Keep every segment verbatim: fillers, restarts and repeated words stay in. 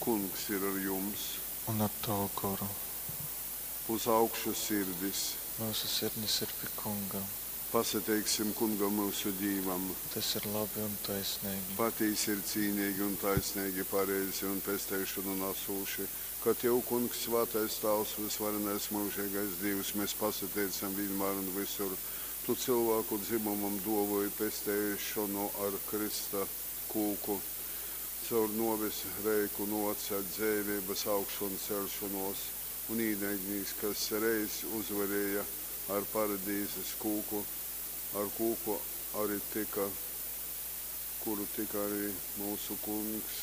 Kungs ir ar jums! Un ar tovu goru. Uz augšu sirdis! Myusu sirdis ir pi Kunga. Pasateiksim Kungam myusu Dīvam! Tys ir labi un taisneigi. Patīsi ir cīneigi un taisneigi, pareizi un pesteišonu nasūši, ka tev, Kungs, svātais Tāvs, vysvarenais myužeigais Dīvs, mes pasateicam vīnmār un vysur. Tu cylvāku dzymumam dōvōji pesteišonu ar krysta kūku. Caur nōves reiku nōce dzeiveibas augšanceļšonōs, un īnaidnīks, kas reiz uzvarēja ar paradīzes kūku, ar kūku ari tyka, kuru tyka ari myusu Kungs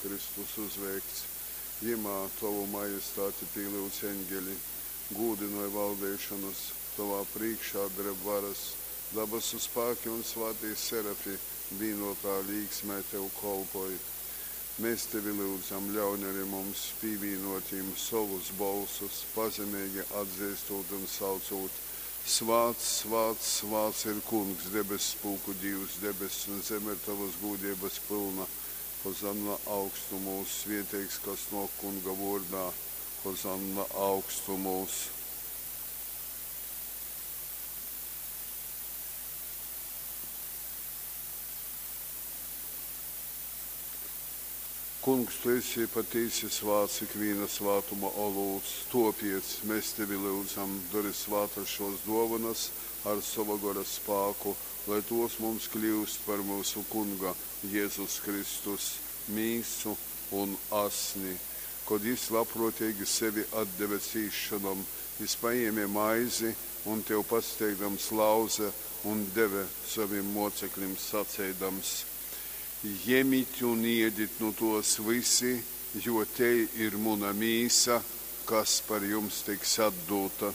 Kristus uzveikts. Jymā tovu majestāti pīlyudz eņgeli, gūdynoj valdeišonas, tovā prīškā dreb varas, dabasu spāki un svātī serafi vīnōtā līksmē tev kolpoj. Mes tevi lyudzam, ļauņ ari mums pīvīnōt jim sovus bolsus, pazemeigi atzeistūt un saucūt, Svāts, svāts, svāts ir Kungs, debesspulku Dīvs, debess un zeme ir tovas gūdeibas pylna. Hozanna augstumūs, svieteigs, kas nōk Kunga vōrdā. Hozanna augstumūs. Kungs, tu esi patīsi svāts, ikvīna svātuma olūts, tōpiec, mes tevi lyudzam, dori svātas šōs dōvonas ar sova Gora spāku, lai tōs mums kļyust par myusu Kunga Jezus Kristus mīsu un asni. Kod jys labprōteigi sevi atdeve cīsšonom, jys pajēme maizi un, tev pasateikdams, lauze un deve sovim mōceklim saceidams, Jemit un iedit nu tōs vysi, jo tei ir muna mīsa, kas par jums tiks atdūta.